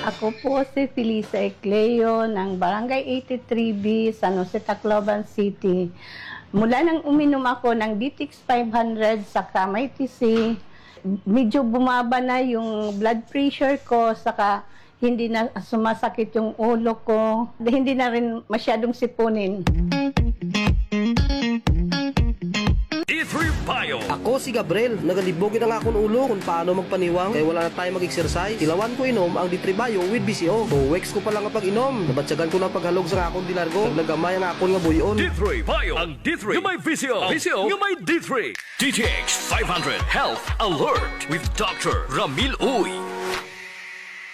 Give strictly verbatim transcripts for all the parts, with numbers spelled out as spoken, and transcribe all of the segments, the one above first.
Ako po si Felisa Ecleo ng Barangay eighty-three B, San Jose, Tacloban City. Mula nang uminom ako ng D T X five hundred sa Kamay T C, medyo bumaba na yung blood pressure ko, saka hindi na sumasakit yung ulo ko, hindi na rin masyadong sipunin. D three Bio. Ako si Gabriel. Nagalibog gud an akon ulo kon paano magpaniwang kay wala na time mag-exercise. Tilawan ko inom ang D three Bio with V C O. Two weeks ko pa la nga pag-inom, nabatyagan ko na an paghalog sa akon dinargo. Naglagamay an akon nga buy-on. D three Bio. Ang D three nga may V C O. V C O nga may D three. D T X five hundred Health Alert with Doctor Ramil Uy.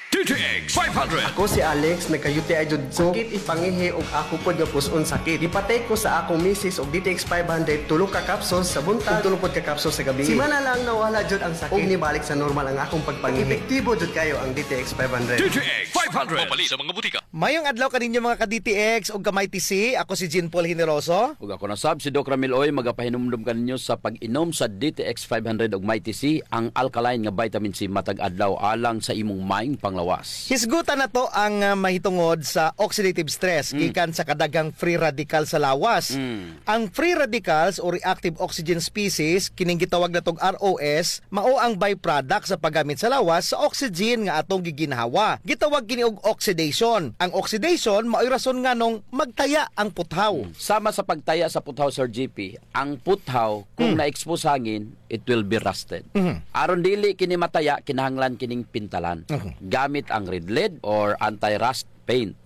D T X five hundred. Ako si Alex, nagka-U T I jud ko. Sakit it pangihi ug ako pod nga pus-on sakit. Gipa-take ko sa akong misis og D T X five hundred, tulo ka capsules sa buntag ug tulo pod ka capsules sa gabii. Simana lang nawala jud ang sakit ug nibalik sa normal ang akong pagpangihi. Epektibo jud kaayo ang D T X five hundred. D T X five hundred. Mapalit sa mga butika. Mayong adlaw kaninyo, mga ka-D T X ug ka-Mighty C. Ako si Jean Paul Generoso. Ug ako na sab, si Doc Ramil Uy, magapahinumdom kaninyo sa pag-inom sa D T X five hundred ug Mighty C, ang alkaline nga vitamin C matag adlaw alang sa imong maayong panglawas. Hisgutan nato ang, ah, mahitungod sa oxidative stress gikan sa kadaghang free radical sa lawas. Ang free radicals o reactive oxygen species, kining gitawag nato og R O S, mao ang byproduct sa paggamit sa lawas sa oxygen nga atong giginhawa. Gitawag kini og oxidation. Ang oxidation mao'y rason nganong magtaya ang puthaw. Sama sa pagtaya sa puthaw, Sir G P, ang puthaw, kung na-expose hangin, it will be rusted. Aron dili kini mataya, kinahanglan kining pintalan gamit ang Red Lead or anti-rust paint.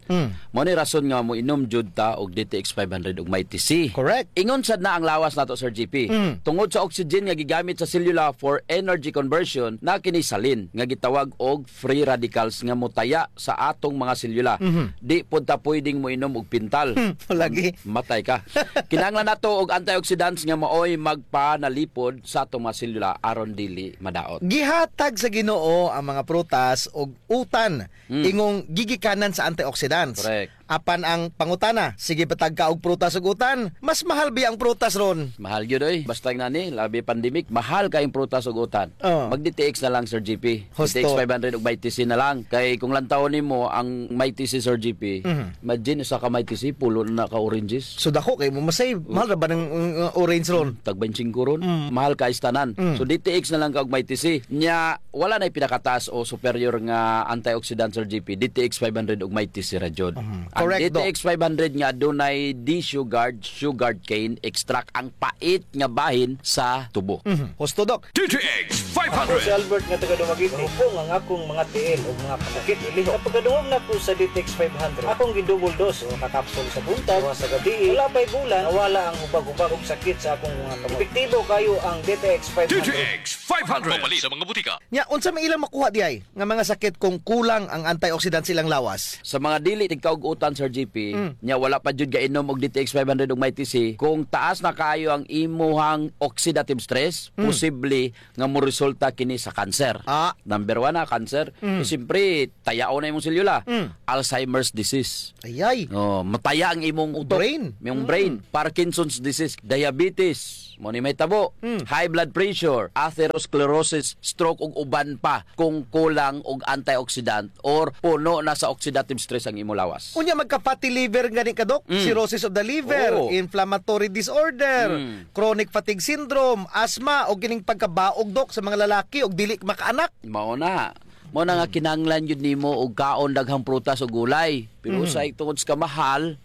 Mao ni rason nga moinom jud ta og D T X five hundred ug Mighty C. Correct. Ingon sad na ang lawas nato, Sir G P. Tungod sa oxygen nga gigamit sa selula for energy conversion, naa kini salin nga gitawag og free radicals nga motaya sa atong mga selula. Di pod ta pwedeng moinom og pintal. Lagi. Matay ka. Kinahanglan nato og antioxidants nga maoy magpanalipod sa atong mga selula aron dili madaot. Gihatag sa Ginoo ang mga prutas og utan ingong gigikanan sa antioxidants. Correct. Apan ang pangutana, sige ba ta og prutas ug utan? Mas mahal biya ang prutas ron? Mahal gyud, oy. Basta ngani, labi pandemic, mahal kay ang prutas ug utan. Oh. Mag D T X na lang, Sir G P. Husto. D T X five hundred ug Mighty C na lang. Kay kung lantawon nimo ang Mighty C, Sir G P, imagine, usa ka Mighty C, pulo na ka oranges. So dako kay mo masave. Mahal ra ba ng, uh, orange ron? Tag baynte singko ron. Mahal kay sa tanan. So D T X na lang ka og Mighty C. Nya, wala na'y pinakataas o superior nga antioxidant, Sir G P. D T X five hundred ug Mighty C ra jud. Ang D T X five hundred nga adunay D-Sugard, sugarcane extract, ang pait nga bahin sa tubo. Husto, Doc. D T X five hundred. Ako si Albert nga taga Dumaguete. Hupong ang akong mga tiil ug mga kasakit. Sa pagkadungog nako sa D T X five hundred, akong gi-double dose, usa ka kapsul sa buntag, duha sa gabii. Wala pa'y bulan, nawala ang hubag-hubag ug sakit sa akong mga kamot. Epektibo kaayo ang D T X five hundred. D T X five hundred. Mapalit sa mga butika. Nya, unsa may ilang makuha diay nga mga sakit kung kulang ang antioxidant sa ilang lawas? Sa mga dili tigkaug-utan, Sir G P, nya wala pa jud gainom og D T X five hundred ug Mighty C, kung taas na kaayo ang imuhang oxidative stress, posible nga moresulta kini sa cancer. Ah. Number one na, cancer. So, siyempre, tayaon na imong selula. Alzheimer's disease. Ayay. Oh, mataya ang imong utok. Brain. Imong brain. Parkinson's disease, diabetes, mao ni mahitabo, high blood pressure, atherosclerosis, stroke, ug uban pa kung kulang og antioxidant or puno na sa oxidative stress ang imo lawas. Unya magka-fatty liver gani ka, Doc? Cirrhosis of the liver, inflammatory disorder, chronic fatigue syndrome, asthma, o kining pagkabaog, Doc, sa mga lalaki og dili makaanak. Mao na. Mao na nga kinahanglan gyud nimo og kaon daghang prutas o gulay. Pero usahay tungod sa kamahal,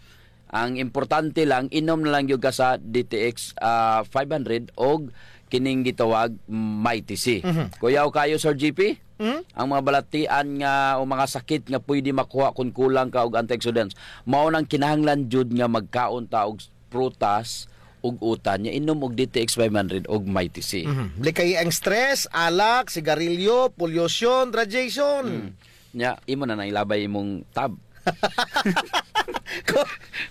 ang importante lang, inom na lang gyud ka sa D T X, ah, five hundred og kining gitawag Mighty C. Kuyaw kaayo, Sir G P, ang mga balatian nga o mga sakit nga pwede makuha kung kulang ka og antioxidants. Mao nang kinahanglan jud nga magkaon ta og prutas ug utan, nya inom og D T X five hundred og Mighty C. Likayi ang stress, alak, sigarilyo, pollution, radiation. Nya, imo na nang ilabay imong tab.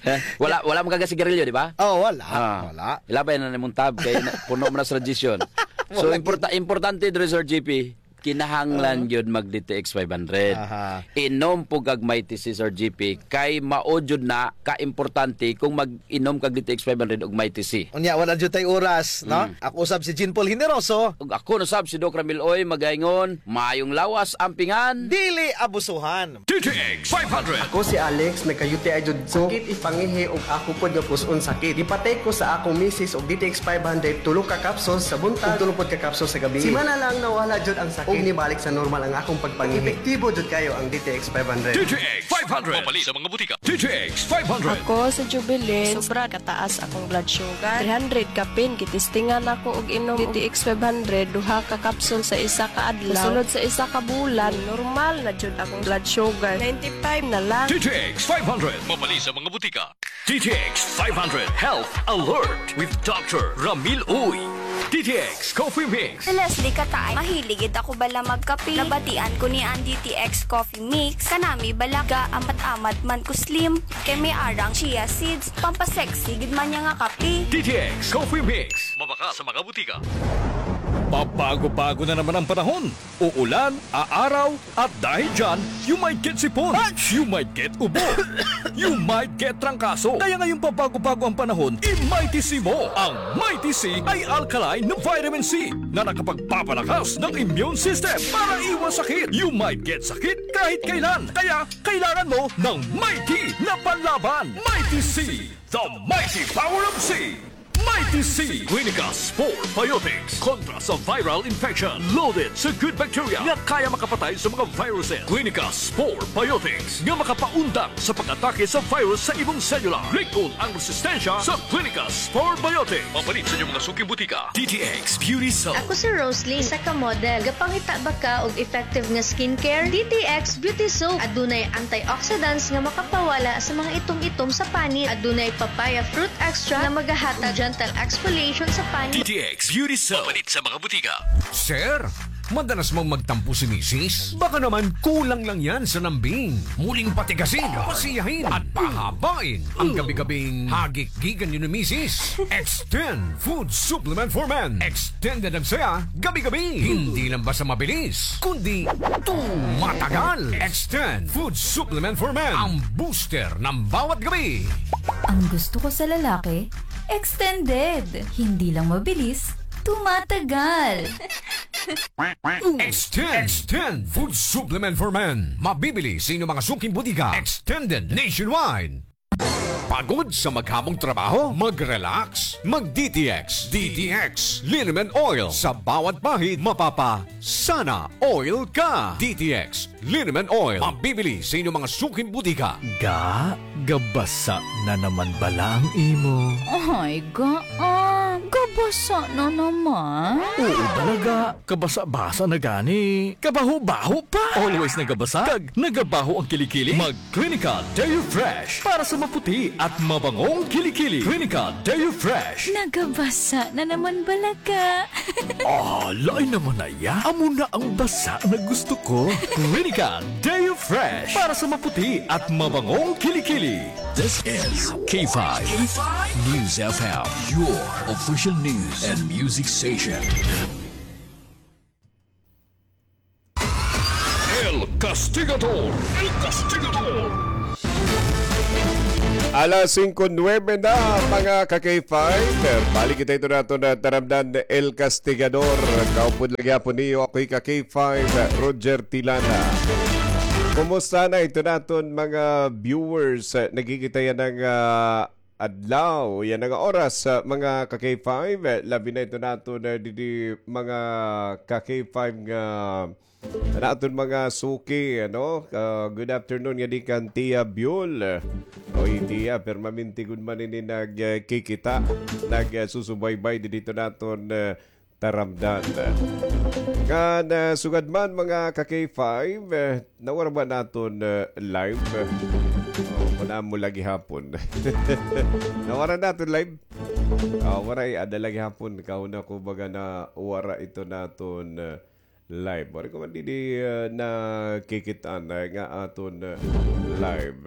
Eh, wala, wala man ka gasigarilyo, di ba? Oh, wala. Ah, wala. Ilabay na imong tab kay na, puno man na sa radiation. So, importa, importante diri, Sir G P, kinahanglan gyud mag D T X five hundred. Aha. Inom pod kag Mighty C, Sir G P, kay mao jud na ka-importante kung mag-inom kag D T X five hundred ug Mighty C. Unya, wala jud tay oras, no? Mm. Ako usab si Jean Paul Generoso. Ug ako na sab si Doc Ramil Uy, magaingon, maayong lawas, ampingan. Dili abusuhan. D T X five hundred. Ako si Alex, nagka-U T I jud ko. Sakit ipangihi ug ako pod nga pus-on sakit. Gipatake ko sa akong misis og D T X five hundred, tulo ka capsules sa buntag, ug tulo pod ka capsules sa gabii. Simana lang nawala jud ang sakit. Ug nibalik sa normal ang akong pagpangihi. Epektibo jud kayo ang D T X five hundred. D T X five hundred. Mapalit sa mga butika. D T X five hundred. Ako si Jubilin. Sobra kataas akong blood sugar. Three hundred kapin, gitistingan ako og inom D T X five hundred, duha ka capsule sa isa ka adlaw. Sulod sa isa ka bulan, normal na jud akong blood sugar. Ninety-five na lang. D T X five hundred. Mapalit sa mga butika. D T X five hundred Health Alert with Doctor Ramil Uy. D T X Coffee Mix. Si Leslie Kataay, mahilig gid ako bala magkape. Nabatian ko niya an D T X Coffee Mix. Kanami bala, ga-amat-amat man ko slim. Kay may arang chia seeds. Pampasexy gid man niya nga kape. D T X Coffee Mix. Mabakal sa mga butika. Pabago-bago na naman ang panahon. Uulan, aaraw, at dahil dyan, you might get sipon, you might get ubo, you might get trangkaso. Kaya ngayong pabago-bago ang panahon, i-Mighty C mo. Ang Mighty C ay alkaline na vitamin C na nakapagpapalakas ng immune system para iwas sakit. You might get sakit kahit kailan. Kaya kailangan mo ng Mighty na panlaban. Mighty C, the mighty power of C. Mighty C. Clinica Spore Biotics. Kontra sa viral infection. Loaded sa good bacteria nga kaya makapatay sa mga viruses. Clinica Spore Biotics nga makapaundang sa pag-atake sa virus sa imong selula. Lig-on ang resistensya sa Clinica Spore Biotics. Mapalit sa inyong mga suking butika. D T X Beauty Soap. Ako si Rosalie, isa ka model. Gapangita ba ka og effective nga skincare? D T X Beauty Soap. Adunay antioxidants nga makapawala sa mga itom-itom sa panit. Adunay papaya fruit extract nga magahatag gentle exfoliation sa panit. D T X Beauty Soap. Mapalit sa mga butika. Sir, madalas mang magtampo si misis? Baka naman kulang lang yan sa lambing. Muling patigasin, pasiyahin, at pahabain ang gabi-gabing hagik-gikan niyo ni misis. Extend Food Supplement for Men. Extended ang saya, gabi-gabi. Hindi lang basta mabilis, kundi tumatagal. Extend Food Supplement for Men. Ang booster ng bawat gabi. Ang gusto ko sa lalaki, extended. Hindi lang mabilis, tumatagal. Extend. Extend Food Supplement for Men. Mabibili sa inyong mga suking butika. Extended nationwide. Pagod sa maghamong trabaho? Mag-relax. Mag-D T X. D T X Liniment Oil. Sa bawat pahid, mapapa sana oil ka. D T X Liniment Oil. Mabibili sa inyong mga suking butika. Ga, gabasa na naman bala ang imo? Ay, ga, ah, gabasa na naman. Oo bala, ga. Kabasa-basa na gani. Kabaho-baho pa. Always nagabasa. Kag nagabaho ang kilikili. Mag Clinica Deo Fresh para sa maputi at mabangong kilikili. Clinica Deo Fresh. Nagabasa na naman bala ka. Ah, lain naman na iya. Amo na ang basa na gusto ko. Clinica Deo Fresh para sa maputi at mabangong kilikili. This is K five News F M, your official news and music station. El Castigador. El Castigador. Alas singko nuwebe na, mga ka-K five. Balik kita ito nato na taramdan, El Castigador. Kaupod lagi hapon niyo, ako'y ka-K five, Roger Tilana. Kumusta na ito naton mga viewers? Nagkikita yan ng, ah, adlaw. Yan nga oras, ah, mga ka-K five. Eh, labi na ito nato na didi mga ka-K five nga, ah, naton mga suki, ano? Ah, good afternoon nga di kan Tia Biol. Oy, Tia, permanente gud man ini nagkikita, nagsusubaybay didi naton, ah, taramdan. Ngan, ah, sugad man, mga ka-K five, eh, nawara ba naton, ah, live? Oh, kunam mo lagi hapon. Nawara naton live? Oh, waray, ada lagi hapon. Kahuna ko baga nawara ito naton, ah, live. Waray ko man didi, ah, nakikit-an, ah, nga aton, ah, live.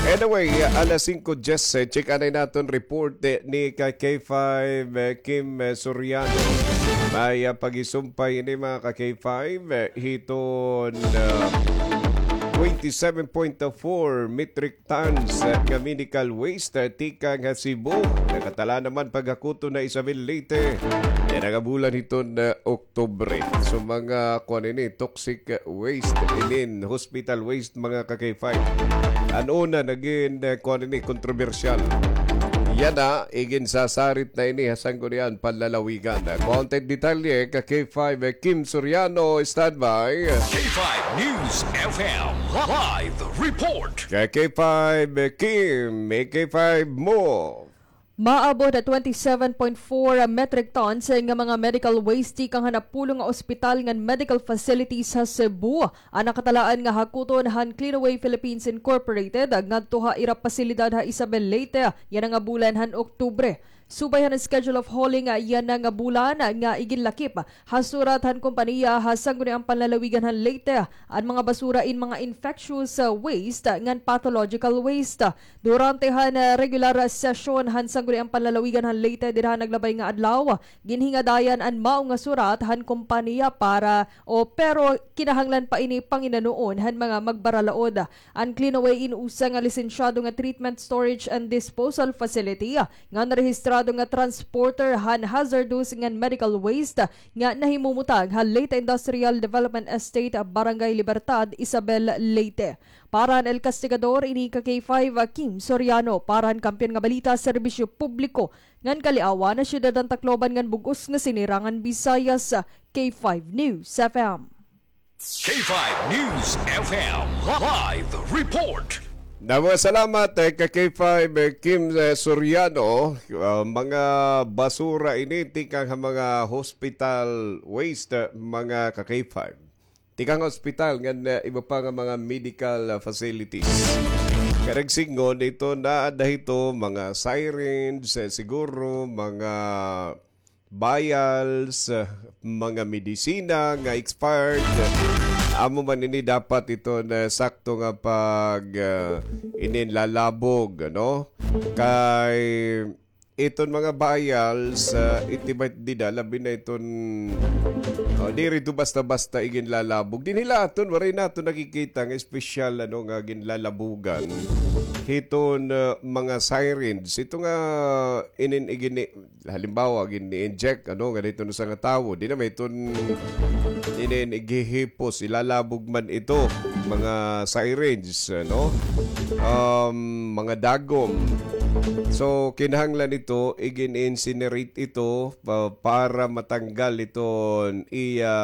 Anyway, alas singko diyes, eh, check anay naton report, eh, ni ka-K five, eh, Kim, eh, Soriano. May, ah, pagisumpay ini, mga ka-K five, eh, hiton, ah, twenty-seven point four metric tons, eh, nga medical waste, eh, tikang ha Cebu. Nakatala naman paghakuton ha Isabel, Leyte. Yana nga bulan hiton, ah, Oktubre. So, mga kuan ini, toxic waste inin, hospital waste, mga ka-K five. An una nagin, eh, kuan ini, kontrobersyal. Yana, iginsasarit na ini ha Sangguniang Panlalawigan. Kuan it detalye, ka-K five, eh, Kim Soriano, standby. K five News F M live report. Ka-K five, eh, Kim, eh, K five mo. Maabot ha twenty-seven point four metric tons nga mga medical waste tikang ha napulo nga ospital ngan medical facilities ha Cebu an nakatalaan nga hakuton han Clean Away Philippines Incorporated ngadto ha ira pasilidad ha Isabel, Leyte, yana nga bulan han Oktubre. Subay han schedule of hauling yana nga bulan nga iginlakip ha surat han kompanya ha Sangguniang Panlalawigan han Leyte an mga basura in mga infectious, uh, waste ngan pathological waste. Durante han, ah, regular session han Sangguniang Panlalawigan han Leyte dida han naglabay nga adlaw, ginhingadayan an mao nga surat han kompanya para, o, pero kinahanglan pa ini panginanoon han mga magbaralaod. An Clean Away in usa nga lisensyado nga treatment, storage and disposal facility ngan rehistrado nga transporter han hazardous ngan medical waste nga nahimumutang ha Leyte Industrial Development Estate, Barangay Libertad, Isabel, Leyte. Para han El Castigador, ini ka-K five, Kim Soriano. Para han Kampiyon nga Balita, Serbisyo Publiko ngan Kaliawan, Syudad han Tacloban ngan bug-os nga Sinirangan Visayas, K five News F M. K five News F M live report. Damo nga salamat, eh, ka-K five, eh, Kim, eh, Soriano. Ah, mga basura ini tikang ha mga hospital waste, eh, mga ka-K five. Tikang hospital ngan, eh, iba pa nga mga medical, ah, facilities. Karuyag sidngon, ito na ada hito, mga syringe, eh, siguro, mga vials, ah, mga medisina nga expired. Amo man ini dapat ito na sakto nga pag, ah, ininlalabog, ano? Kay iton mga vials, ah, iti may dida, labi na iton, oh, diri ito basta-basta iginlalabog. Dinhi la aton, waray naton nakikita nga espesyal, ano, nga ginlalabogan. Hiton, ah, mga syringe. Ito nga inin igini-, halimbawa, gini-inject, ano, nga dito na sa nga tawo. Di na may iton inin igihipos, ilalabog man ito, mga syringe, ano? Um, mga dagom. So, kinahanglan ito, igin-incinerate ito pa-, para matanggal iton iya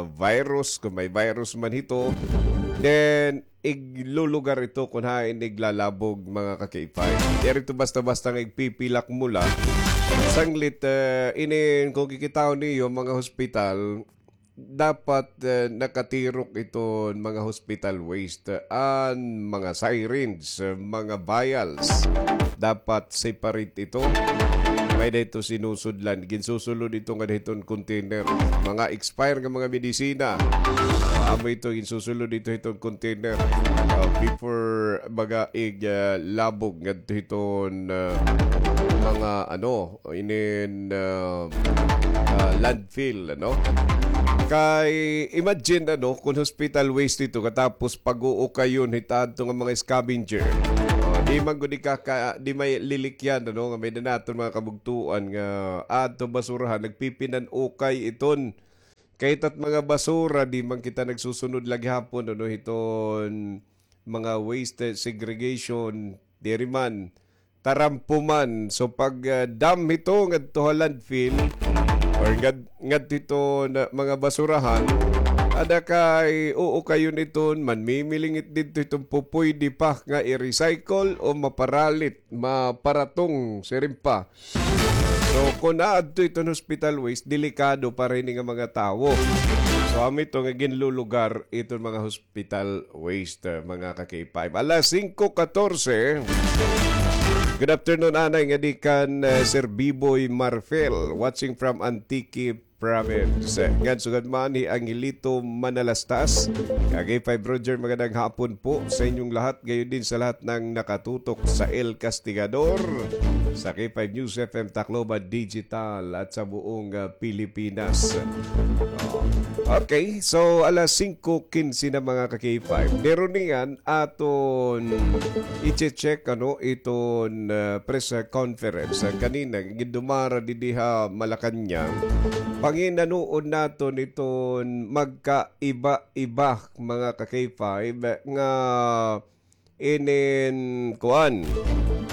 virus, kung may virus man ito. Then, iglulugar ito kun hain iglalabog, mga ka-K five. Diri ito basta-basta nga igpipilak mo la. Sanglit, eh, inin, kung kikitaon niyo, mga hospital, dapat, eh, nakatirok iton mga hospital waste, eh, an mga syringe, eh, mga vials. Dapat separate ito. May dito sinusudlan. Ginsusulod ito nga hiton container. Mga expire nga mga medisina. Ah, amo ito, ginsusulod ito hiton container. Ah, before baga ig, ah, labog ngadto hiton, ah, mga ano, inin, ah, ah, landfill, ano? Kay imagine, ano, kung hospital waste ito, katapos pag-uukayon hit adto nga mga scavenger. Oh, di man gud ikaka-, di may lilikyan, ano, nga may danaton mga kabugtuan nga adto basurahan, nagpipinan-ukay iton. Kay tat mga basura, di man kita nagsusunod la gihapon, ano, hiton mga waste segregation, diri man, tarampo man. So, pag, ah, dump hito ngadto ha landfill, or ngad-, ngadto hito na mga basurahan, ada kay, oo, kayo niton, manmimilingit didto hiton pupuydi pa nga i-recycle o maparalit, maparatong, siring pa. So, kun aadto iton hospital waste, delikado para ini nga mga tawo. So, amo ito nga ginlulugar iton mga hospital waste, uh, mga ka-K five. Alas singko katorse. Good afternoon, anay nga di kan, uh, Sir Biboy Marfel, watching from Antique, Province. Ngan sugad man hi Angelito Manalastas, ka K five Roger, magandang hapon po sa inyong lahat, gayon din sa lahat ng nakatutok sa El Castigador, sa K five News F M Tacloban Digital at sa buong, ah, Pilipinas. Oh. Okay, so alas singko kinse na, mga ka-K five. Pero niyan, aton i-check, ano, iton, ah, press, ah, conference, ah, kanina, gindumara didi ha Malacañang. Panginanoon naton iton magkaiba-iba, mga ka-K five, nga inin, kuan,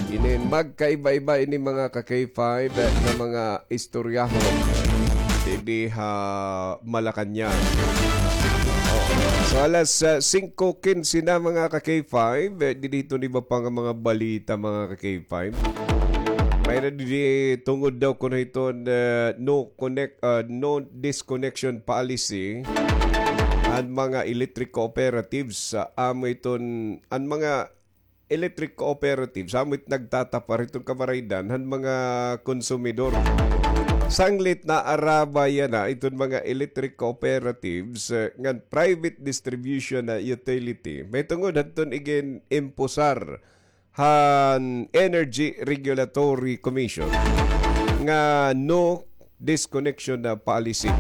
inin magkaiba-iba ini, mga ka-K five, nga mga istoryahon didi ha Malacañang. Oo. So, alas, ah, singko kinse na, mga ka-K five, eh, didi hiton iba pa nga mga balita, mga ka-K five. May-ada didi tungod daw kuno hiton, eh, no connect, ah, no disconnection policy an mga electric cooperatives, ah, amo iton, an mga electric cooperatives, amo it nagtatapar hiton kabaraydan han mga konsumidor. Sanglit naarabay yana iton mga electric cooperatives, eh, ngan private distribution na utility. Mahitungod hadton igin-imposar han Energy Regulatory Commission nga no disconnection na policy.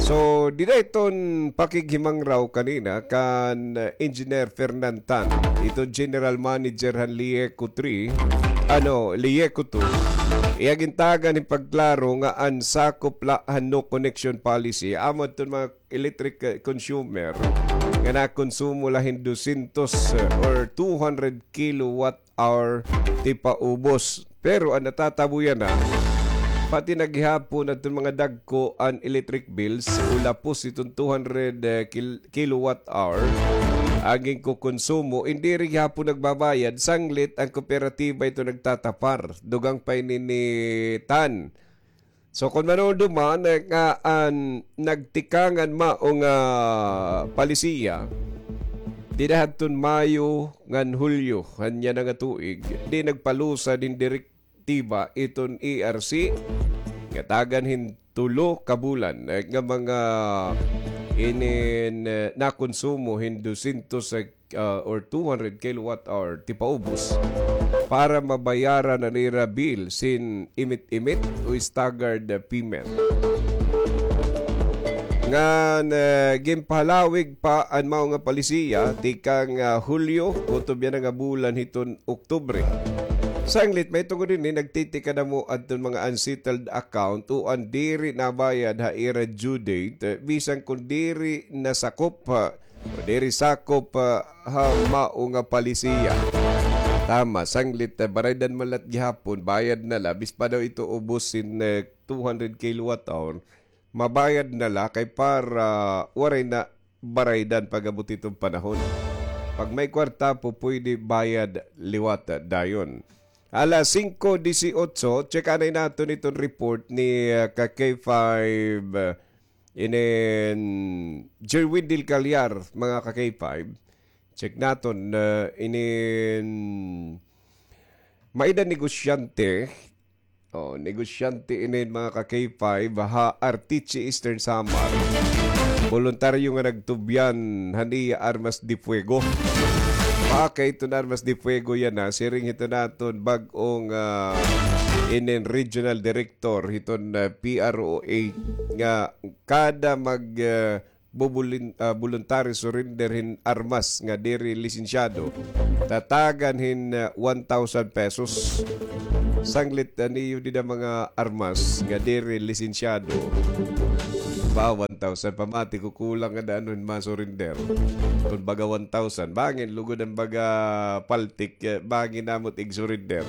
So, dida iton pakighimangraw kanina kan, uh, Engineer Fernan Tan, iton General Manager han Lieco three, ano, Lieco two, iya gintagan hin pagklaro nga an sakop la han no connection policy, amo iton mga electric, uh, consumer nga nakonsumo la hin dusyentos, uh, or two hundred kilowatt hour tipaubos. Pero an natatabo yana, pati na gihapon adton mga dagko an electric bills, o lapos iton two hundred, eh, kil-, kilowatt hour an ginkokonsumo, indi rin gihapon nagbabayad, sanglit an kooperatiba ito nagtatapar. Dugang pa ini ni Tan. So, kon manuduman, eh, nga an nagtikang an mao nga palisiya, dida hadton Mayo ngan Hulyo han yana nga tuig, di nagpalusad hin direktiba iton E R C nga tagan hin tulo ka bulan, eh, nga mga inin, eh, nakonsumo hin dusyentos, eh, ah, or two hundred kilowatt hour tipaubos para mabayaran an ira bills hin imit-imit o staggered payment. Ngan, ah, ginpahalawig pa an mao nga palisiya tikang, ah, Hulyo, kutob yana nga bulan hiton Oktubre. Sanglit, mahitungod hini, nagtitikadamo adton mga unsettled account o an diri nabayad ha ira due date, eh, bisan kon diri nasakop, ah, o diri sakop, ah, ha mao nga palisiya. Tama, sanglit, ah, baraydan man la it gihapon, bayad na la, bis pa daw ito ubos hin, eh, two hundred kilowatt hour, mabayad na la kay para waray na baraydan pag-abot hiton panahon. Pag may kwarta, pupuyde bayad liwat dayon. Alas singko disiotso, check anay naton iton report ni, ah, ka K five, ah, inin Jerwin Del Callar, mga ka K five. Check naton, ah, inin may-ada negosyante. Oh, negosyante inin, mga ka K five, ha Arteche, Eastern Samar. Boluntaryo nga nagtubyan han iya armas de fuego. Maakay iton armas de fuego yana, siring hiton aton bag-ong, ah, inin regional director hiton, ah, P R O A nga kada mag, ah, bubulin-, ah, voluntary surrender hin armas nga diri lisensyado, tatagan hin, ah, one thousand pesos. Sanglit, ah, niyo dida mga armas nga diri lisensyado. Ba, one thousand, pamati ko kulang nga daan hin ma-surrender. Kon baga one thousand, bangin lugod an baga paltik, eh, bangin namot ig-surrender.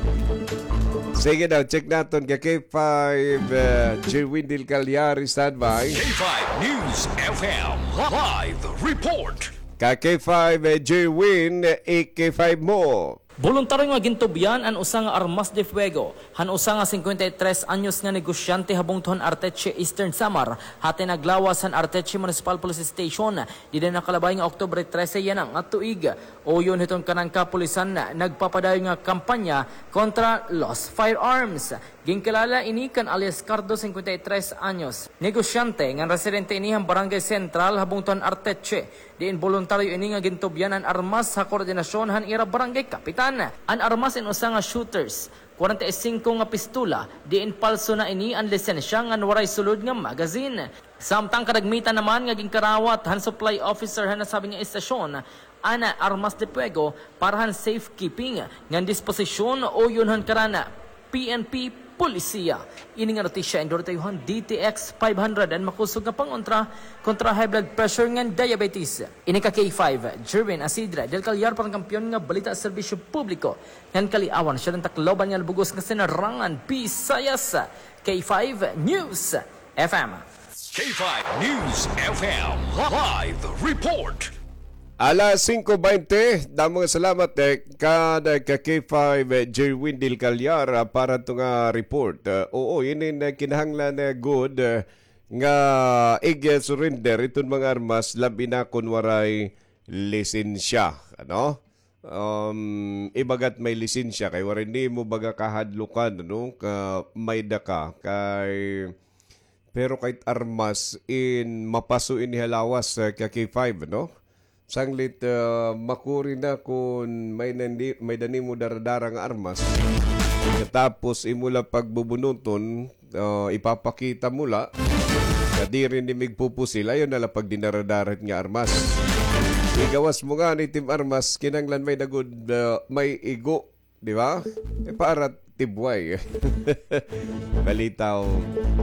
Sige daw, check naton ka K five, eh, Jerwin Del Callar, standby. K five News F M live report. Ka K five, eh, Jerwin, eh, K five mo. Boluntaryo nga gintubyan an usa nga armas de fuego han usa nga singkwenta y tres anyos nga negosyante ha bungto han Arteche, Eastern Samar, hati naglawas han Arteche Municipal Police Station dida nakalabay nga Oktubre trese yana nga tuig. Uyon hiton kanan kapulisan, nagpapadayon nga kampanya kontra lost firearms. Ginkilala ini kan alias Cardo, singkwenta y tres anyos, negosyante ngan residente ini han Barangay Central ha bungto han Arteche, diin boluntaryo ini nga gintubyan an armas ha koordinasyon han ira barangay kapitan. An armas in usa nga shooters, kwarenta y singko nga pistola, diin palso na ini an lisensya ngan waray sulod nga magazine. Samtang kadagmitan naman nga ginkarawat han supply officer han nasabi nga istasyon an armas de fuego para han safekeeping ngan disposisyon uyon han kanan P N P Polisiya. Ini nga notisya in duratay han D T X five hundred, an makusog nga pangontra kontra high blood pressure ngan diabetes. Ini ka K five, Jerwin Asidre del Callar para han Kampiyon nga Balita, Serbisyo Publiko ngan Kaliawan, siyudad han Tacloban ngan bug-os nga Sinarangan, Visayas. K five News F M. K five News F M live report. Alas singko baynte, damo nga salamat, eh, kan, eh, ka K five, eh, Jerwin del Callar, ah, para to nga report. Ah, oo, ini na kinahanglan, eh, gud, eh, nga ig-surrender iton mga armas, labi na kon waray lisensya, ano? Um, ibagat may lisensya, kay waray nimo baga kahadlukan, ano, ka may da ka, kay, pero kahit armas in mapaso ini ha lawas, eh, ka K five, no? Sanglit, ah, makuri na kun may nandi-, may da nimo daradara nga armas. Tapos imo la pagbubunuton, ah, ipapakita mo la, nga diri nimo igpupusil, ayaw na la pagdinaradara nga armas. Igawas mo ngani it im armas, kinahanglan may da gud, ah, may igo, di ba? Eh, para tibway. Balitaw,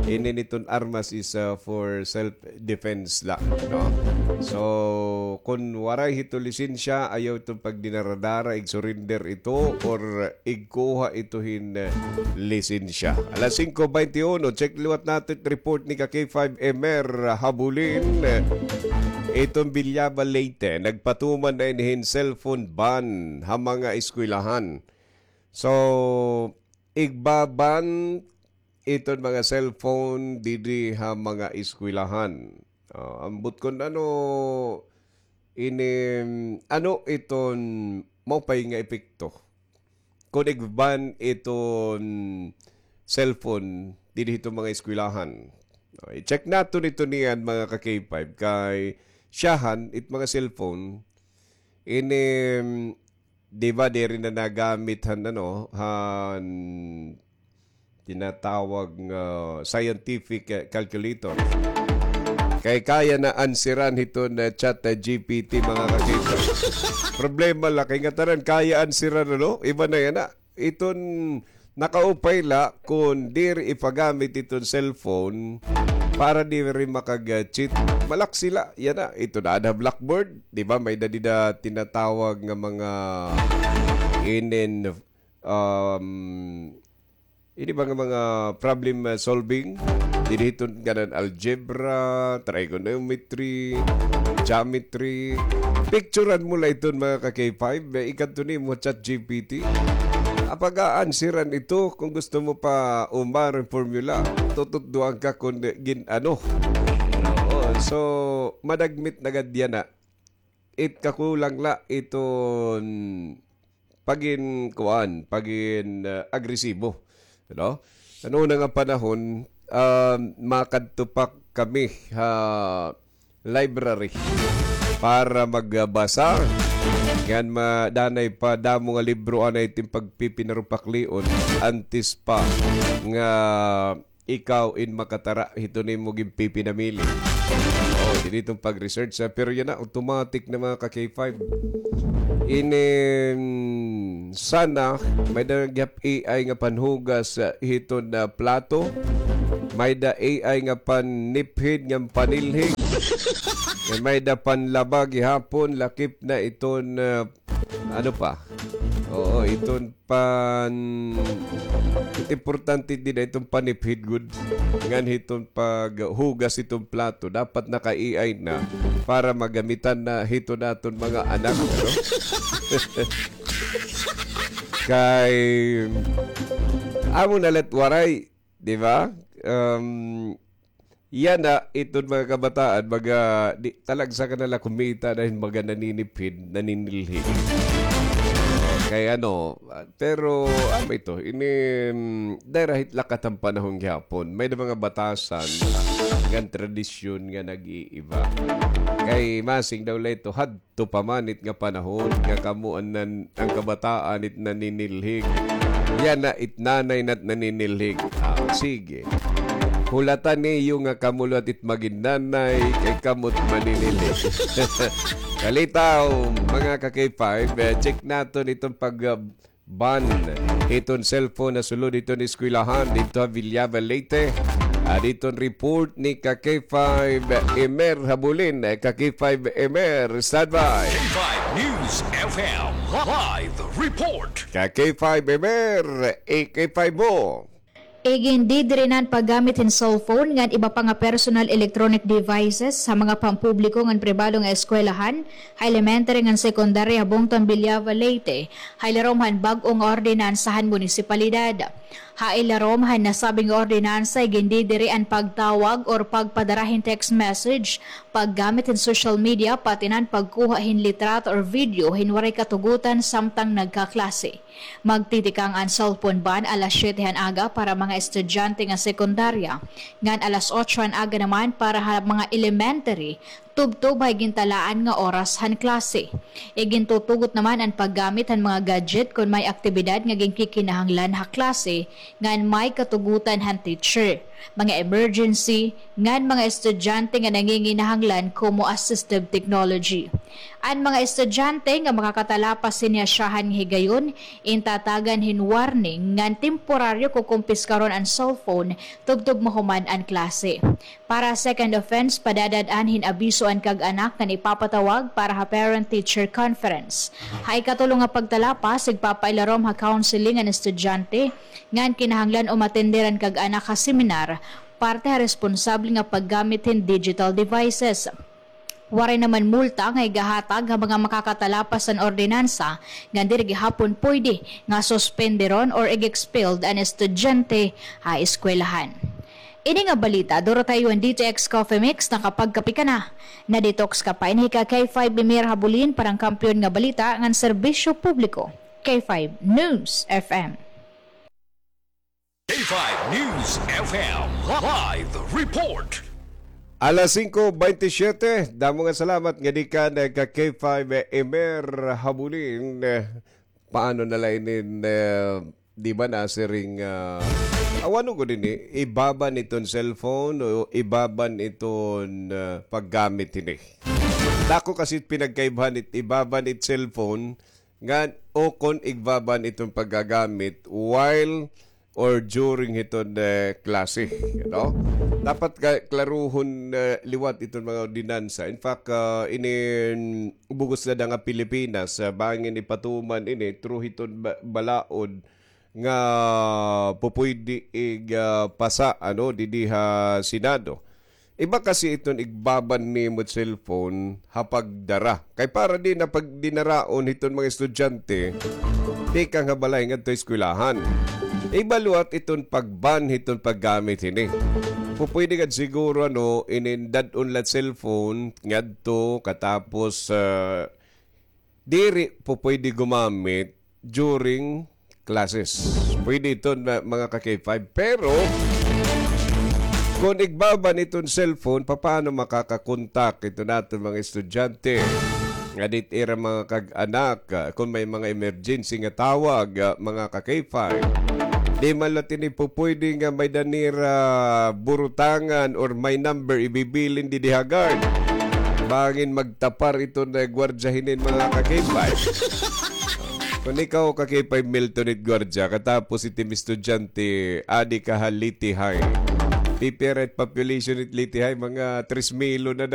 ini niton armas is, ah, for self-defense la, no? So, kun waray hito lisensya, ayaw ito pagdinaradara, ig-surrender ito, or igkuha ito hin, eh, lisensya. Alas singko baynte uno, check liwat naton it report ni ka K five Emer Habulin. Iton Villaba, Leyte, nagpatuman na ini hin cellphone ban ha mga eskwelahan. So, igbaban iton mga cellphone didi ha mga eskwelahan. Ah, ambot kun ano ini, ano iton maupay nga epekto kun igban iton cellphone didi hiton mga eskwelahan. Ah, i-check naton ito niyan, mga ka K five, kay syahan it mga cellphone ini, di ba, diri na nagamit han, ano, han tinatawag nga scientific, eh, calculator. Kay kaya na answeran hiton, eh, chat, eh, G P T, mga ka-K five. Problema la kay ngatanan kaya answeran, ano? Iba na yana. Iton nakaupay la kun diri ipagamit iton cellphone para diri makag-cheat. Malak sila, yana. Iton aada ha blackboard, di ba? May da dida tinatawag nga mga inin, um, ini ba nga mga problem, uh, solving? Didi hiton kanan algebra, trigonometry, geometry. Picturan mo la iton, mga ka-K five, eh, ikadto nimo chat G P T. Apag-aansiran ito kung gusto mo pa umaro hin formula. Tututdoan ka kun gin-ano. Oo, so, madagmit na gad yana. It kakulang la iton pagin kuan, pagin, ah, agresibo, no? Ano na nga panahon, ah, makadto pa kami ha library para magbasa. Ngan ma-, danay pa damo nga libro anay it im pagpipinarupaklion antes pa nga ikaw in makatara hiton imo ginpipinamili. Oh, didi iton pag-research, ah, pero yana, automatic na, mga ka-K five. Ini, mm, sana, may da gihap A I nga panhugas, ah, hiton, ah, plato. May da A I nga paniphid nga panilhig. May da panlaba gihapon, lakip na iton, ah, ano pa? Oo, iton pan-, it importante dida iton paniphid gud. Ngan hiton paghugas hiton plato, dapat naka-A I na para magamitan na hiton aton mga anak, ano? Kay, amo na la't waray, di ba? Um, yana, iton mga kabataan, mga, di, talagsa ka na la kumita dahil mga naninipid, naninilhig. Kay ano, pero, amo ito, ini, mm, dahil rahit lakat ang panahon gihapon, may na mga batasan, ngan tradisyon nga nag-iiba. Kay masing daw la ito, had to pa man it nga panahon nga kamo an nan-, an kabataan it naninilhig. Yana it nanay na't naninilhig. Ah, sige. Hulatan niyo nga kamo liwat it magin nanay, kay kamo't maninilhig. Kalitaw, mga ka-K five, eh, check naton iton pag, ah, ban hiton cellphone nasulod hiton eskwelahan didto ha Villava, Leyte. Ah, diton report ni ka K five Emer Habulin. Eh, ka K five Emer, standby. K five News F M live report. Ka K five Emer, eh, K five mo. Igindidiri na an paggamit hin cellphone ngan iba pa nga personal electronic devices ha mga pampubliko ngan pribado nga eskwelahan, ha elementary ngan secondary ha bungto han Villava, Leyte, ha ilarom han bag-o nga ordinansa han munisipalidad. Ha ilarom han nasabi nga ordinansa, igindidiri an pagtawag or pagpadara hin text message, paggamit hin social media, pati na an pagkuha hin litrato or video hin waray katugotan samtang nagkaklase. Magtitikang an cellphone ban alas siyete han aga para mga estudyante nga sekundarya, ngan alas otso han aga naman para ha mga elementary, tubtob ha igintalaan nga oras han klase. Igintutugot naman an paggamit han mga gadget kon may aktibidad nga ginkikinahanglan ha klase ngan may katugotan han teacher, mga emergency, ngan mga estudyante nga nanginginahanglan komo assistive technology. An mga estudyante nga makakatalapas hini ha syahan nga higayon, intatagan hin warning ngan temporaryo kukumpiskaron an cellphone tubtob mahuman an klase. Para second offense, padadad-an hin abiso an kag-anak ngan ipapatawag para ha parent-teacher conference. Ha ikatulo nga pagtalapas, igpapailarom ha counseling an estudyante ngan kinahanglan umatender an kag-anak ha seminar parte ha responsable nga paggamit hin digital devices. Waray naman multa nga igahatag ha mga makakatalapas han ordinansa, ngan diri gihapon pwede nga suspenderon or ig-expelled an estudyante ha eskwelahan. Ini nga balita, duro ta ha iyo han D T X Coffee Mix, nakapagkape ka na, na-detox ka pa. Ini hi ka K five Emer Habulin para han kampiyon nga balita ngan serbisyo publiko, K five News F M. K five News F M live report. Alas singko bente siyete, damo nga salamat ngadi kan ka K five Emer Habulin. Paano na la inin, eh, di ba nasiring, ah, aw, ano gud ini, ibaban iton cellphone o ibaban iton, ah, paggamit ini? Dako kasi pinagkaibahan it ibaban it cellphone ngan o kon igbaban iton paggagamit while or during hiton, eh, klase, no? Dapat ka, klaruhon, eh, liwat iton mga ordinansa. In fact, ah, inin bug-os na da nga Pilipinas, ah, bangin ipatuman ini through hiton ba-, balaod nga pupuydi ig, ah, pasa, ano, didi ha Senado. Iba kasi iton igbaban nimo cellphone ha pagdara. Kay para di na pagdinaraon hiton mga estudyante, tikang ha balay ngadto eskwelahan. Iba liwat iton pag-ban hiton paggamit hini. Pupuydi gad siguro, ano, inin dad-on la cellphone ngadto katapos, ah, diri pupuydi gumamit during classes. Pwede ito na, mga ka-K five. Pero, kung igbaban iton cellphone, papaano makakakontak ito naton mga estudyante? Nga dit ira mga kag-anak, ah, kung may mga emergency nga tawag, ah, mga ka-K five. Di man la tini pupwede nga may danira burutangan or may number ibibilin didi ha guard. Bangin magtapar ito na gwardiya hinin mga ka-K five. Kung ikaw, ka-K five Milton, it gwardiya, katapos it im estudyante, adi ka ha Leyte High. Pipira it population it Leyte High, mga tres mil na